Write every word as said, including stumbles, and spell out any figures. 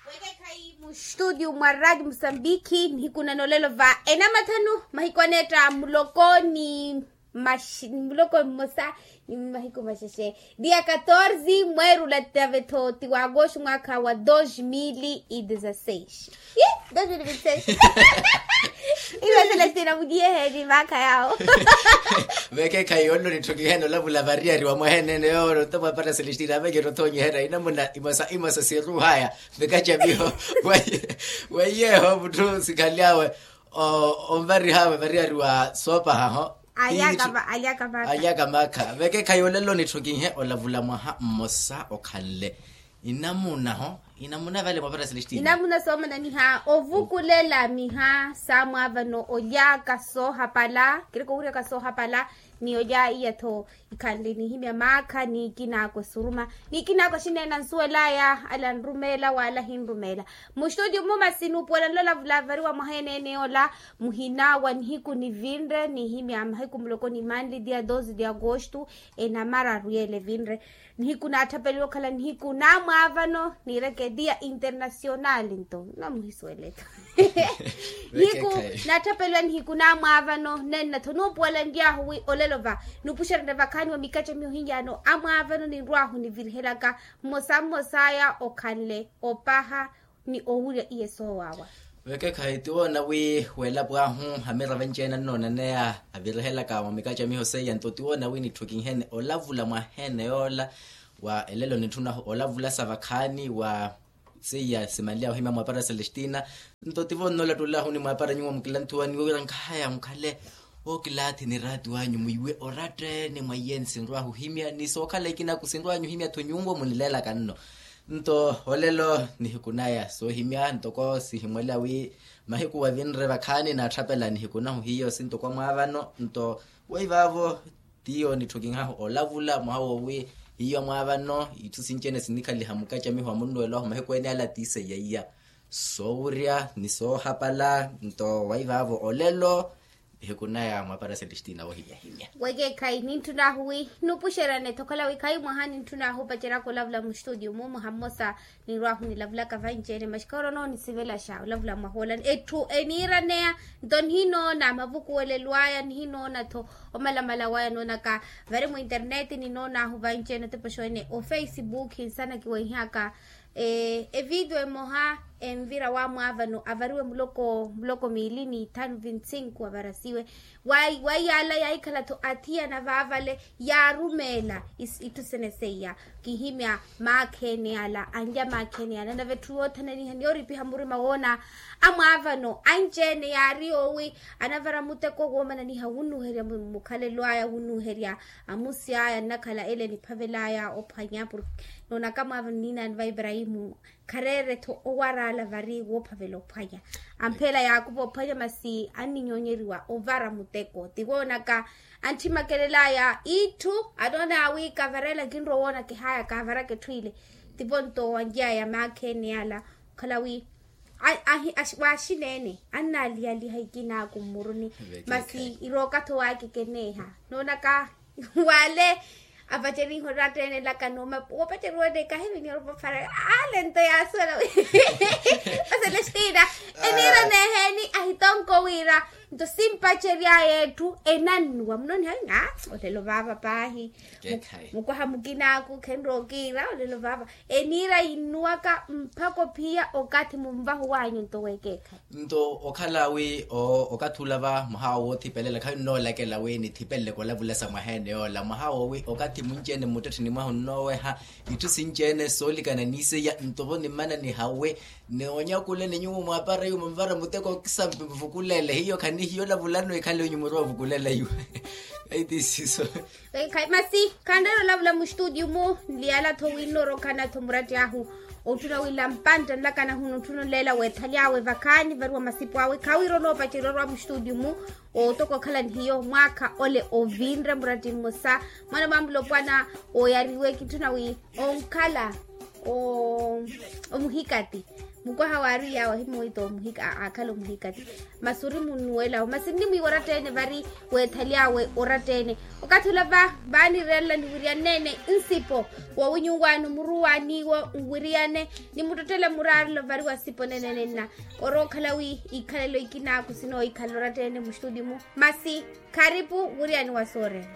Wekekhayi mu studio mwa radio musambiki nihiku nanolelo va enamathanu mahiku aneetta muloko ni muloko mmosa ni mahiku maxexe dia katorze mweerula tavetho ti wa agosto mwakha wa dos mil e dezasseis. Dos mil e vinte e seis. Iwe celestina mudiye heni maakha yawo. Vekekhayi yonno nitthukihene olavula variyari wa mwahenene yoro nto mwapara celestina aveketothoonyiherya inamuna imosa imosa siruhaya. Vekacamiho weiyeho mutthu sikhalyawe onvarihaawe variyari wa soopahaho. Alyaka maakha. Vekekhayi olelo nitthukihene olavula mwaha mmosa okhanle inamunaho inamuna vale mwapara celestina inamuna soomananiha ovukulela miha sa mwaavano olyaka soohapala kiriko wuryaka soohapala. Ni olya iya-tho ikhanle nihimya maakha ni ikinaako esuruma ni ikinaako exineena nsuwelaya ala anrumeela wala ahinrumeela. Mu studio mumasi nuupuwela nlola vulavariwa mwaha eneene yoola muhina wa nihiku nivinre nihimya mahiku muloko ni manli dia doze de agosto enamararu yeela evinre. Nihiku naatthapeliwa okhala nihiku namwaavano niireke dia internacional nto namuhisuwele-tho. Nihiku naatthapeliwa nihiku namwaavano nenna-tho nuupuwela nly'ahu wi olelo va nuupuxerene vakhaani wa mikaca miyo hinyaano amwaavano ninrw'ahu nivirihelaka mmosa mmosaya okhanle opaha ni owurya iye soowaawa. Vekekhayi ti woona wi weelapo ahu amira vanci-ene annoonaneya avirihelaka mwa mikaca miho seiya nto ti woona wi nitthukinhene olavula mwaha-ene yoola wa elelo nitthuna olavula sa vakhaani wa seiya simanly'ahu ohimya mwaapara celestina. Nto tivo nnoolattull'ahu ni mwaapara nyuwo mukilanthuwani wira nkhaya mukhale ookilaathi ni raati wanyu mwiiwe oratta-ene mwa iye nsinrw'ahu ohimya ni sookhala ikinaku sinrw'anyu ohimya-tho nyuwo munileelaka nno. Nto olelo nihiku naya soohimya ntoko sihimwela wi mahiku wavinre vakhaani naatthapela nihiku nahu hiyo sintoko amwaavano nto weivaavo tiyo nitthukinhahu olavula mwaha woowi hiyo amwaavano itthu sinci-ene sinikhaliha mukacamiho wa munnuwelo ahu mahiku ene ala ti seiya iya soowurya ni soohapala nto weivaavo olelo. Nihiku naya mwaapara celestina woohimyahimya. Wekeekhayi nintthun'ahu wi nuupuxerane-tho okhala wi khayi mwaha nintthun'ahu opaceryaka olavula mu studio mu mwaha mmosa ninrw'ahu nilavulaka vanci-ene maxi khawoona noonisivelaxa olavula mwahoola etthu eniiraneya. Nto nihinoona mavukuwelelo aya nihinoona-tho omalamala waya noonaka vari mu internet ninoon'ahu vanci-ene otepoxo ene ofacebook nsana kiweihaka evidio emoha envira wamwaavano avariwe muloko muloko miili ni ithanu vintsinku avarasiwe. Waiyala yaahikhala-tho athiyana vaavale yaarumeela itthu sene seiya kihimya maakha ene ala anlya maakha ene ala nave etthu yoothananiha niyooripiha murima woona amwaavano anci-ene yaari yoowi anavara muteko woomananiha wunnuherya mukhalelo aya wunnuherya amusi aya nnakhala ele niphavel'aya ophwanya porke noonaka amwaavano niinaani va iparahimu khareere-tho owaraala vari woophavela ophwanya ampheela yaakupa ophwanya masi anninyonyeriwa ovara muteko tivoonaka antthimmakelel'aya itthu anoon'aya wi kavareela kinrowa owoona kihaya kaavaraka etthu ile. Tivo nto wanly'aya maakha ene ala okhala wi waaxineene annaaliyaliha ikinaaku mmuruni masi irooka-tho waakekeneeha noonaka wale avacerihe oratta-ene laka nooma woopaceriwa ene kahivi niyorupa ofara ale nto yaasuwela wi oselestina eniiraneeheeni ahitonko wira nto simpacery'aya etthu enannuwa munoniha wi aa olelo vaava paahi mukwaha mukinaaku khenrowa okiira olelo vaava eniira yinnuwaka mpakha ophiya okathi munvahu wanyu nto weekeekhayi. Nto okhala wi okathi ula va mwaha woowo woothipelela khayi nnoolakela wi nithipeleleke olavulasa mwaha ene yoola mwaha woowi okathi munci-ene mmuttettheni mwahu nnooweha itthu sinci-ene soolikana ni seiya nto vo nimmana nihawe ni onyakule ni nyuwo mwaapara iwe munvara muteko kisampi muvukulele hiyo khanihiyo olavulano ikhale onyu muruwa ovukulela iwe. Aitisiso. Masi khanreera olavula mu studio mu nliyala-tho wi nnoorokhana-tho muratti ahu otthuna wila mpantta nlakana hunu otthuna onleela weethaly'awe vakhaani variwa masipu awe khawiira onoopacerya orwa mu studio mu otoka okhala ni hiyo mwaakha ole ovinre muratti mmosa mwana mwamulopwana oyariwe kitthuna wi onkhala omuhikati Mukwaha waari yaawe ahimuwita omuhika aakhala omuhikati. Masi ori munnuwelawo masi nnimwiiwa oratta-ene vari, weethaly'awe oratta-ene. Okathi ola va vaanireerela niwiriyane-ene nsipo, wowinyuwaani omuruwaani iwo nwiriyane, nimuttottela muraarelo vari wa sipo nenene nna. Orookhala wi ikhalelo ikina kusinooikhalela oratta-ene mustudi-mu. Masi kharipu wiriyaani wa soorela.